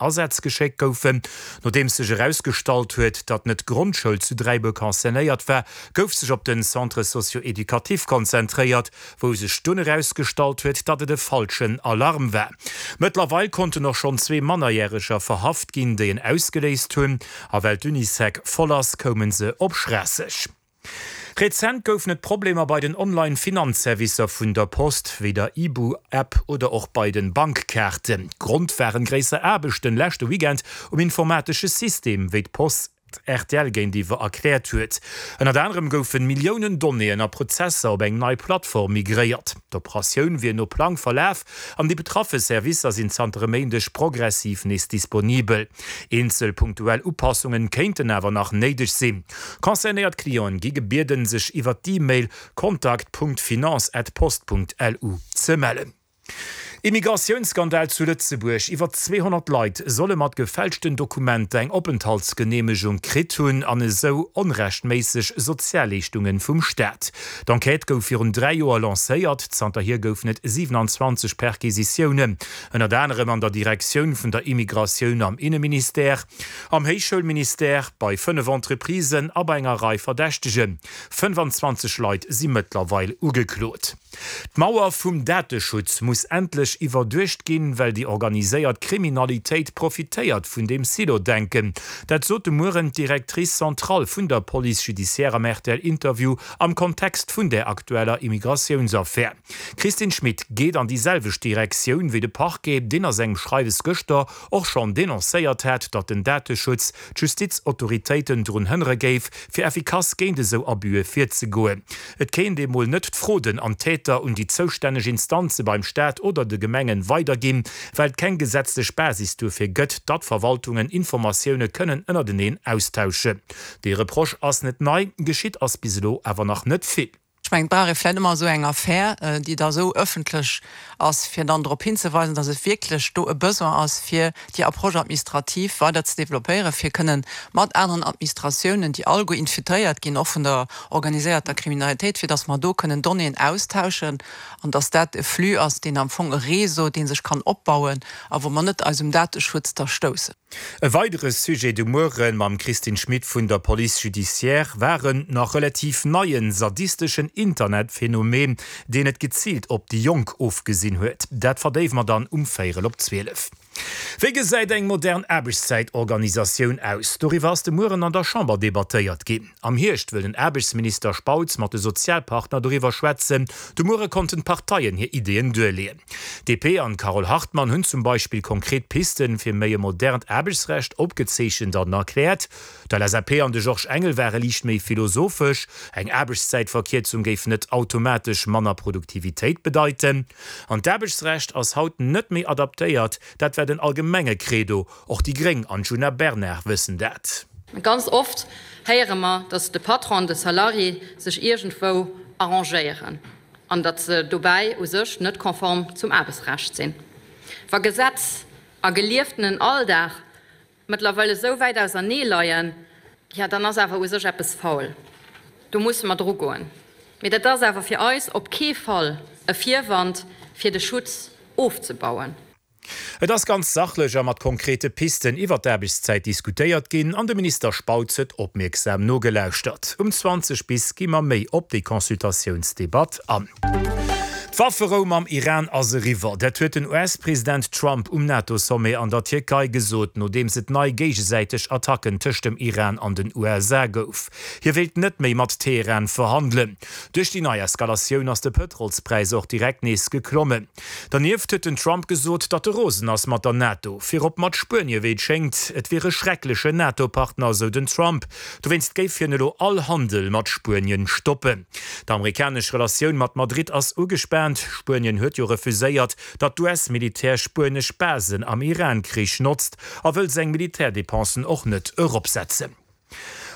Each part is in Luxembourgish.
Asaz geschéckt goufen. Nodeems sech erausgestallt huet, datt net d'Grondschoul zu Dräibuer concernéiert war, gouf sech op den Centre socio-éducatif konzentréiert, wou sech dunn erausgestallt huet, datt et e falschen Alarm war. Mëttlerweil konnten och schonn zwee Mannerjäreger verhaft ginn, déi en ausgeléist hunn. A well d'Unisec voll ass, koume se op Schraasseg. Rezent goufen et Problemer bei den Online-Finanzservicer vun der Post, wéi der Ibu-App oder och bei den Bankkaarten. Grond waren gréisser Aarbechten leschte Weekend um informatesche System, wéi d'Post rtl géintiwwer erkläert huet. Ënnert anerem goufen Milliounen Donnéeën a Prozesser op eng nei Plattform migréiert. D'Operatioun wier no Plang verlaf an déi betraffe Servicer sinn zanter e Méindeg progressiv nees disponibel. Eenzel punktuell Upassungen kéinten awer nach néideg sinn. Concernéiert Clienten gi gebieden, sech iwwer d'E-Mail contact.finance@post.lu ze mellen. Immigratiounsskandal zu Lëtzebuerg, Iwwer 200 Leit solle mat gefälschten Dokumenter eng Openthaltsgeneemegung kritt hunn an esou onrechtméisseg Sozialleeschtungen vum Staat. D'Enquête gouf virun 3 Joer lancéiert, zanterhier goufen et 27 Perquisitiounen, ënnert anerem an der Direktioun vun der Immigratioun am Inneministère. Am Héichschoulministère, bei 5 Entreprisen a bei enger Rei Verdächtegen. 25 Leit si mëttlerweil ugeklot. D'Mauer vum Dateschutz muss endlech iwwerduecht ginn, well déi organiséiert Kriminalitéit profitéiert vun deem Silo-Denken. Dat sot de Mueren d'Directrice centrale vun der Police judiciaire am RTL-Interview am Kontext vun där aktueller Immigratiounsaffär. D'Christine Schmit geet an déi selwecht Direktioun wéi de Parquet, deen a sengem Schreiwes gëschter och schonn denoncéiert hat, datt den Dateschutz d'Justizautoritéiten drun hënnere géif, fir effikass géint esou Abüe virzegoen. Et kéint ee mol net d'Froden an d'Täter un déi zoustänneg Instanze beim Staat oder de Gemengen weiderginn, well et keng gesetzlech Basis duerfir gëtt, datt Verwaltungen Informatioune kënnen ënnerteneen austauschen. Dee Reproche ass net nei, geschitt ass bis elo awer nach net vill. Ech mengen, et brauch ee vläicht ëmmer esou eng Affär, déi da esou ëffentlech ass, fir dann drop hinzeweisen, datt et wierklech do e Besoin ass, fir déi Approche administrative weider ze développéieren, fir kënnen mat aneren Administratiounen, déi alleguer infiltréiert ginn, och vun der organiséierter Kriminalitéit, fir datt mer do kënnen Donnéeën austauschen an datt dat e Flux ass, deen am Fong e Réseau, dee sech kann opbauen a wou mer net eis um Dateschutz da stoussen. E weidere Sujet de Muere mam Christine Schmit vun der Police judiciaire war en nach relativ neien, sadisteschen Internetphänomen, deen et geziilt op déi Jonk ofgesinn huet. Dat verdéiwe mer dann um véierel op 12. Wéi gesäit eng modern Aarbechtszäitorganisatioun aus? Doriwwer ass de Mueren an der Chamber debattéiert ginn. Am Hierscht wëll den Aarbechtsminister Spautz mat de Sozialpartner doriwwer schwätzen. De Muere konnten d'Parteien hir Ideeën duerleeën. DP an d'Carole Hartmann hunn zum Beispill konkret Pisten fir méi e modernt Aarbechtsrecht opgezeechent an erkläert. D'LSAP an de Georges Engel ware liicht méi philosophesch, Eng Aarbechtszäitverkierzung géif net automatesch manner Produktivitéit bedeiten. An d'Aarbechtsrecht ass haut net méi adaptéiert, dat war den allgemenge Credo. Och déi Gréng an d'Djuna Bernard wëssen dat. Ganz oft héiere mer, datt de Patron an de Salarié sech iergendwou arrangéieren an datt se dobäi u sech net konform zum Aarbechtsrecht sinn. Wa Gesetz a gelieftenen Alldag mëttlerweil esou wäit ausernee leien, jo dann ass awer u sech eppes faul. Do musse mer drugoen. Mee dat ass awer fir eis op kee Fall e Virwand, fir de Schutz ofzebauen. Et ass ganz sachlech a mat konkrete Pisten iwwer d'Aarbechtszäit diskutéiert ginn an de Minister Spautz huet opmierksam nogelauschtert. Um 20 bis gi mer méi op déi Consultatiounsdebatt an. D'Wafferou mam Iran ass eriwwer. Dat huet den US-President Trump um NATO-Sommet an der Tierkei gesot, nodeems et nei géigesäiteg Attacken tëscht dem Iran an den USA gouf. Hie wéilt net méi mat Teheran verhandelen. Duerch déi nei Eskalatioun ass de Pëtrolspräis och direkt nees geklommen. Dernieft huet den Trump gesot, datt e rosen ass mat der NATO, virop mat Spuenie wéi et schéngt. Et wier e schrecklechen NATO-Partner, sou den Trump. Dowéinst géif hien elo all Handel mat Spuenien stoppen. D'amerikanesch Relatioun mat Madrid ass ugespaant. Spuenien huet jo refuséiert, datt d'US-Militär spuenesch Basen am Iran-Krich notzt a wëll seng Militärdepensen och net eropsetzen.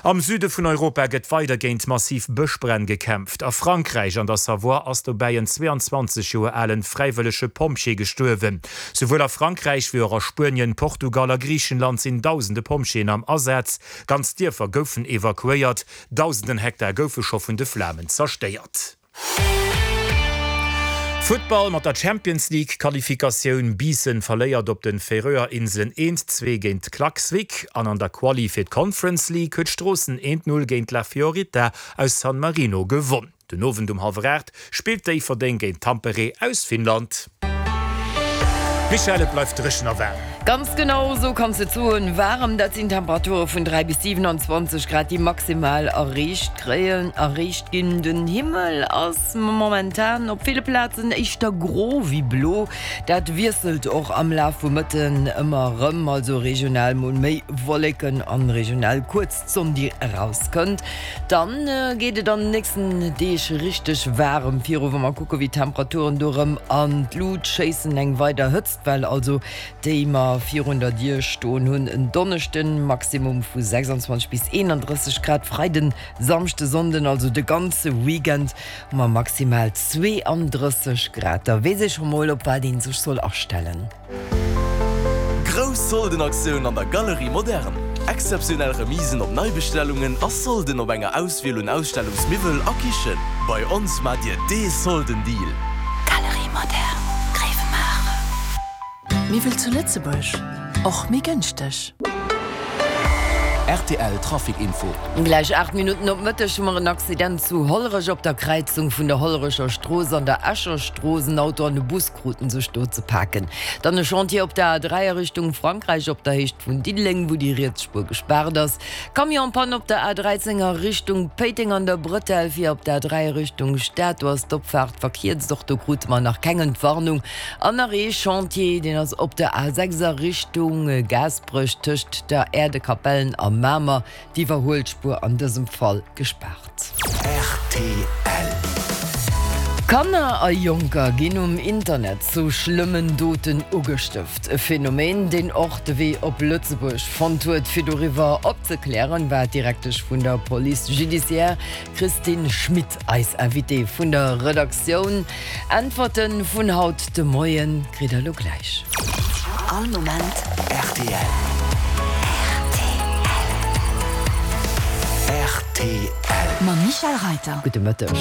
Am Süde vun Europa gëtt weider géint massiv Bëschbränn gekämpft. A Frankräich an der Savoie ass dobäi en 22 Joer alen fräiwëllege Pompjee gestuerwen. Souwuel a Frankräich wéi och a Spuenien, Portugal a Griichenland sinn dausende Pompjeeën am Asaz. Ganz Dierfer goufen evakuéiert, dausenden Hektar goufe scho vun de Flamen zerstéiert. Futtball, Mat der Champions League Qualifikatioun, Biissen verléiert op den Färöer Inselen 1, 2 géint Klaksvik an an der Quali fir d'Conference League huet Stroossen 1, 0 géint La Fiorita aus San Marino gewonn. Den Owend um hallwer 8 spillt Déifferdeng géint Tampere aus Finnland. Michèle, et bleift dréchen a waarm. Ganz genau esou kanns de et soen. Waarem, dat sinn Temperature vun 3 bis 27 Grad, déi maximal erreecht kréien, erreecht ginn. Den Himmel ass momentan op ville Plazen éischter gro wéi blo. Dat wiesselt och am Laf vum Mëtten ëmmer erëm, also regional mol méi Wolleken an regional kuerz d'Sonn déi erauskënnt. Dann geet et an den nächsten Deeg richteg waarem viru, wa mer kucke wéi d'Temperaturen do erëm an d'Lut schéissen. Eng weider Hëtztwell also, déi mer virun der Dier stoen hunn. En Donneschden Maximum vu 26 bis 31 Grad, Freiden, Samschde, Sonnden, also de ganze Weekend hu mer maximal 32 Grad. Da weess ee scho mol op wat ee sech soll astellen. Grouss Soldenaktioun an der Galerie Moderne! Exzeptionell Remisen op Neibestellungen a Solden op enger Auswiel un Ausstellungsmiwwel a Kichen. Bei ons maacht Dir dee Soldendeal! Galerie Moderne, Gréiwemaacher. Miwwel zu Lëtzebuerg, och méi gënschteg. Rtl Trafic Info. Gläich 8 Minutten op Mëtteg hu mer en Accident zu Hollerech op der Kräizung vun der Hollerecher Strooss an der Escher Strooss. En Auto an e Bus kruten sech do ze paken. Dann e Chantier op der A3 a Richtung Frankräich op der Héicht vun Diddeleng, wou déi riets Spuer gespaart ass. Camion-Panne op der A13 a Richtung Péiteng an der Bretelle fir op der A3 a Richtung Stad. Do ass d'Opfaart verkierzt. Och do krute mer nach keng Entwarnung. An nach ee Chantier, deen ass op der A6 a Richtung Gaasperech tëscht der Äerdekapellen a Mamer. D'Iwwerhuelspuer an dësem Fall gespaart. Rtl. Kanner a Jonker ginn um Internet zu schlëmmen Doten ugestëft. E Phänomen, deen och de Wee op Lëtzebuerg fonnt huet. Fir doriwwer opzeklären, war d'Direktesch vun der Police judiciaire Christine Schmit eis Invitée vun der Redaktioun. Äntwerte vun haut de Moien kritt der elo gläich. All Moment rtl. Rtl. Mam Michèle Reiter. Gudde Mëtteg.